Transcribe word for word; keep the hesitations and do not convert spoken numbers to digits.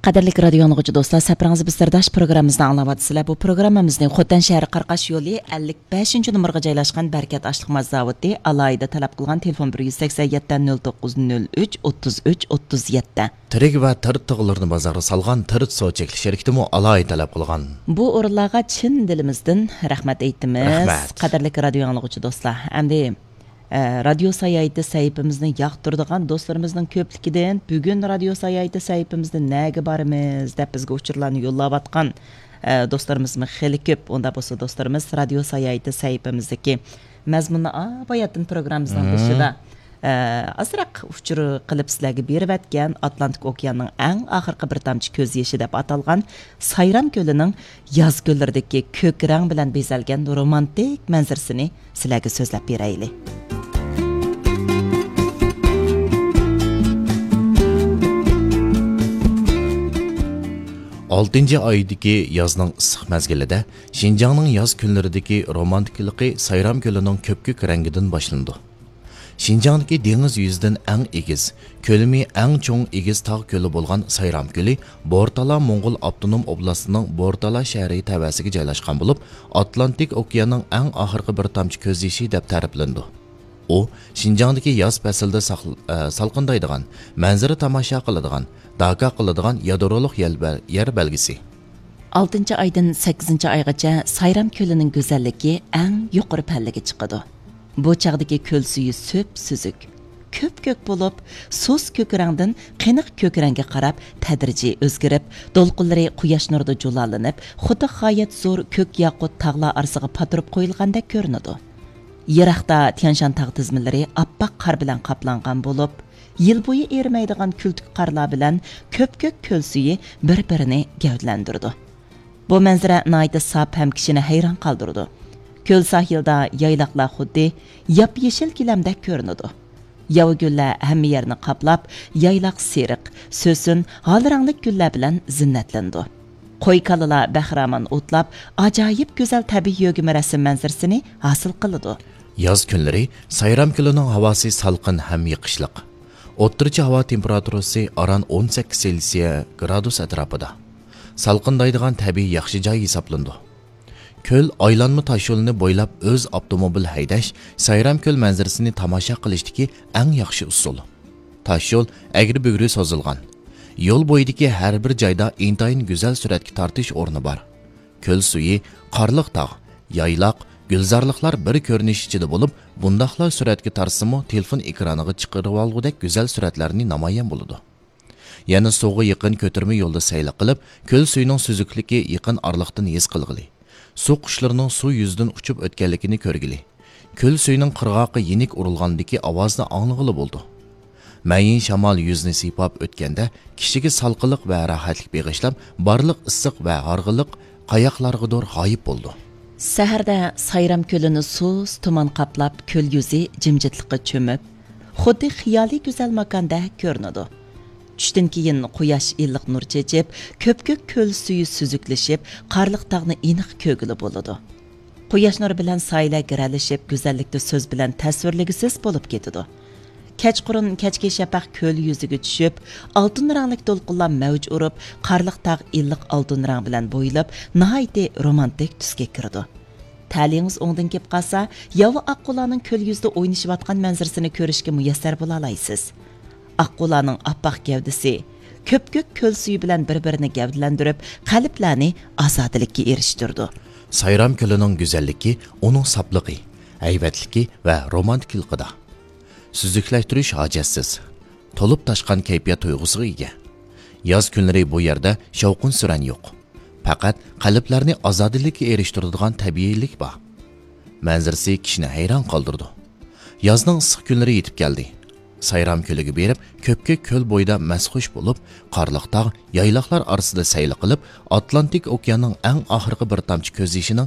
قەدىرلىك رادىيو ئاڭلىغۇچى دوستلار، سەپىرىڭىز بىز سىرداش پروگراممىمىزنى ئاڭلاۋاتىسىلەر. بۇ پروگراممىمىزنى خوتەن شەھىرى قاراقاش يولى ئەللىك بەشىنچى نومۇرغا جايلاشقان بەرىكەت ئاشلىق ماز زاۋۇتى ئالاھىدە تەلەپ قىلغان تېلېفون بىر يۈز سەكسەن يەتتە نۆل توققۇز نۆل ئۈچ ئوتتۇز ئۈچ ئوتتۇز يەتتە. تىرىك ۋە تىرىت تىغلىرىنى بازارغا سالغان تىرىت سو چەكلىك شىركىتىمۇ ئالاھىدە تەلەپ قىلغان. بۇ ئورۇنلارغا چىن دىلىمىزدىن رەھمەت ئېيتىمىز. رەھمەت. قەدىرلىك رادىيو ئاڭلىغۇچى دوستلار، ئەمدى ئە، رادىيو ساياھىتى سەھىپىمىزنى ياقتۇرىدىغان دوستلىرىمىزنىڭ كۆپلۈكىدىن، بۈگۈن رادىيو ساياھىتى سەھىپىمىزدە نەگە بارىمىز دەپ بىزگە ئۇچۇرلارنى يوللاۋاتقان، ئە، دوستلىرىمىزمۇ خېلى كۆپ. ئۇنداق بولسا دوستلىرىمىز رادىيو ساياھىتى سەھىپىمىزدىكى مەزمۇننى باياتىن پروگراممىمىزنىڭ بېشىدا، ئە، ئازراق ئۇچۇر قىلىپ سىلەرگە بېرىۋەتكەن ئاتلانتىك ئوكياننىڭ ئەڭ ئاخىرقى بىر تامچە كۆز يېشى دەپ ئاتالغان سايرام كۆلىنىڭ ياز كۈنلىرىدىكى كۆك رەڭ بىلەن بېزەلگەن رومانتىك مەنزىرىسىنى سىلەرگە سۆزلەپ بېرەيلى. ئالتىنچى ئايدىكى يازنىڭ ئىسسىق مەزگىلىدە شىنجاڭنىڭ ياز كۈنلىرىدىكى رومانتىكىلىقى سايرام كۆلىنىڭ كۆپكۆك رەڭگىدىن باشلىنىدۇ. شىنجاڭدىكى دېڭىز يۈزىدىن ئەڭ ئېگىز، كۆلىمى ئەڭ چوڭ ئېگىز تاغ كۆلى بولغان سايرام كۆلى بورتالا موڭغۇل ئاپتونوم ئوبلاستىنىڭ بورتالا شەھىرى تەۋەسىگە جايلاشقان بولۇپ، ئاتلانتىك ئوكياننىڭ ئەڭ ئاخىرقى بىر تامچە كۆز يېشى دەپ تەرىپلىنىدۇ. ئۇ شىنجاڭدىكى ياز پەسلىدە ساقل-، ئە، سالقىندايدىغان، مەنزىرە تاماشا قىلىدىغان، داكا قىلىدىغان يادرولۇق يەل بەل-، يەر بەلگىسى. ئالتىنچى ئايدىن سەككىزىنچى ئايغىچە سايرام كۆلىنىڭ گۈزەللىكى ئەڭ يۇقىرى پەللىگە چىقىدۇ. بۇ چاغدىكى كۆل سۈيى سۈپسۈزۈك، كۆپكۆك بولۇپ، سۇس كۆك رەڭدىن قېنىق كۆك رەڭگە قاراپ تەدرىجىي ئۆزگىرىپ، دولقۇنلىرى قۇياش نۇرىدا جۇلالىنىپ، خۇددى غايەت زور كۆك ياقۇت تاغلار ئارىسىغا پاتۇرۇپ قويۇلغاندەك كۆرۈنىدۇ. يىراقتا تيانشان تاغ تىزمىلىرى ئاپئاق قار بىلەن قاپلانغان بولۇپ، يىل بويى ئېرىمەيدىغان كۈلتۈك قارلار بىلەن كۆپكۆك كۆل سۈيى بىر-بىرىنى گەۋدىلەندۈرىدۇ. بۇ مەنزىرە ناھايىتى ساپ ھەم كىشىنى ھەيران قالدۇرىدۇ. كۆل ساھىلدا يايلاقلار خۇددى ياپيېشىل گىلەمدەك كۆرۈنىدۇ. ياۋا گۈللەر ھەممە يەرنى قاپلاپ، يايلاق سېرىق، سۆسۈن، ھال رەڭلىك گۈللەر بىلەن زىننەتلىنىدۇ. قوي كالىلار بەخىرامان ئوتلاپ، ئاجايىپ گۈزەل تەبىئىي يۆگىمە رەسىم مەنزىرىسىنى ھاسىل قىلىدۇ. ياز كۈنلىرى سايرام كۆلىنىڭ ھاۋاسى سالقىن ھەم يېقىشلىق. ئوتتۇرىچە ھاۋا تېمپېراتۇرىسى ئاران ئون سەككىز سېلسىيە گرادۇس ئەتراپىدا. سالقىندايدىغان تەبىئىي ياخشى جاي ھېسابلىنىدۇ. كۆل ئايلانما تاشيولىنى بويلاپ ئۆز ئاپتوموبىل ھەيدەش سايرام كۆل مەنزىرىسىنى تاماشا قىلىشتىكى ئەڭ ياخشى ئۇسۇل. تاشيول ئەگرى-بۈگرى سوزۇلغان. يول بويىدىكى ھەر بىر جايدا ئىنتايىن گۈزەل سۈرەتكە تارتىش ئورنى بار. كۆل سۈيى، قارلىق تاغ، يايلاق، گۈلزارلىقلار بىر كۆرۈنۈش ئىچىدە بولۇپ، بۇنداقلا سۈرەتكە تارتسىمۇ تېلېفون ئېكرانىغا چىقىرىۋالغۇدەك گۈزەل سۈرەتلەرنى نامايان بولىدۇ. يەنە سۇغا يېقىن كۆتۈرمە يولدا سەيلە قىلىپ، كۆل سۈيىنىڭ سۈزۈكلۈكى يېقىن ئارىلىقتىن ھېس قىلغىلى، سۇ قۇشلىرىنىڭ سۇ يۈزىدىن ئۇچۇپ ئۆتكەنلىكىنى كۆرگىلى، كۆل سۈيىنىڭ قىرغاققا يېنىك ئۇرۇلغاندىكى ئاۋازنى ئاڭلىغىلى بولىدۇ. مەيىن شامال يۈزنى سىيپاپ ئۆتكەندە، كىشىگە سالقىنلىق ۋە راھەتلىك بېغىشلاپ، بارلىق ئىسسىق ۋە ھارغىنلىق قاياقلارغىدۇر غايىب بولىدۇ. سەھەردە سايرام كۆلىنى سۇس تۇمان قاپلاپ، كۆل يۈزى جىمجىتلىققا چۆمۈپ، خۇددى خىيالىي گۈزەل ماكاندەك كۆرۈنىدۇ. چۈشتىن كېيىن قۇياش ئىللىق نۇر چېچىپ، كۆپكۆك كۆل سۈيى سۈزۈكلىشىپ، قارلىق تاغنى ئېنىق كۆرگىلى بولىدۇ. قۇياش نۇرى بىلەن سايىلەر گىرەلىشىپ، گۈزەللىكتە سۆز بىلەن تەسۋىرلىگۈسىز بولۇپ كېتىدۇ. كەچقۇرۇن كەچكى شەپەق كۆل يۈزىگە چۈشۈپ، ئالتۇن رەڭلىك دولقۇنلار مەۋج ئۇرۇپ، قارلىق تاغ ئىللىق ئالتۇن رەڭ بىلەن بويىلىپ، ناھايىتى رومانتىك تۈسكە كىرىدۇ. تەلىيىڭىز ئوڭدىن كېلىپ قالسا، ياۋا ئاققۇلارنىڭ كۆل يۈزىدە ئوينىشىۋاتقان مەنزىرىسىنى كۆرۈشكە مۇيەسسەر بولالايسىز. ئاققۇلارنىڭ ئاپئاق گەۋدىسى، كۆپكۆك كۆل سۈيى بىلەن بىر-بىرىنى گەۋدىلەندۈرۈپ، قەلبلەرنى ئازادىلىككە ئېرىشتۈرىدۇ. سايرام كۆلىنىڭ گۈزەللىكى ئۇنىڭ ساپلىقى، ھەيۋەتلىكى ۋە رومانتىكىلىقىدا. سۈزۈكلەشتۈرۈش ھاجەتسىز، تولۇپ تاشقان كەيپىيات تۇيغۇسىغا ئىگە. ياز كۈنلىرى بۇ يەردە شاۋقۇن-سۈرەن يوق. پەقەت قەلبلەرنى ئازادىلىككە ئېرىشتۈرىدىغان تەبىئىيلىك بار. مەنزىرىسى كىشىنى ھەيران قالدۇرىدۇ. يازنىڭ ئىسسىق كۈنلىرى يېتىپ كەلدى. سايرام كۆلىگە بېرىپ، كۆپكۆك كۆل بويىدا مەستخۇش بولۇپ، قارلىق تاغ، يايلاقلار ئارىسىدا سەيلە قىلىپ، ئاتلانتىك ئوكياننىڭ ئەڭ ئاخىرقى بىر تامچە كۆز يېشىنىڭ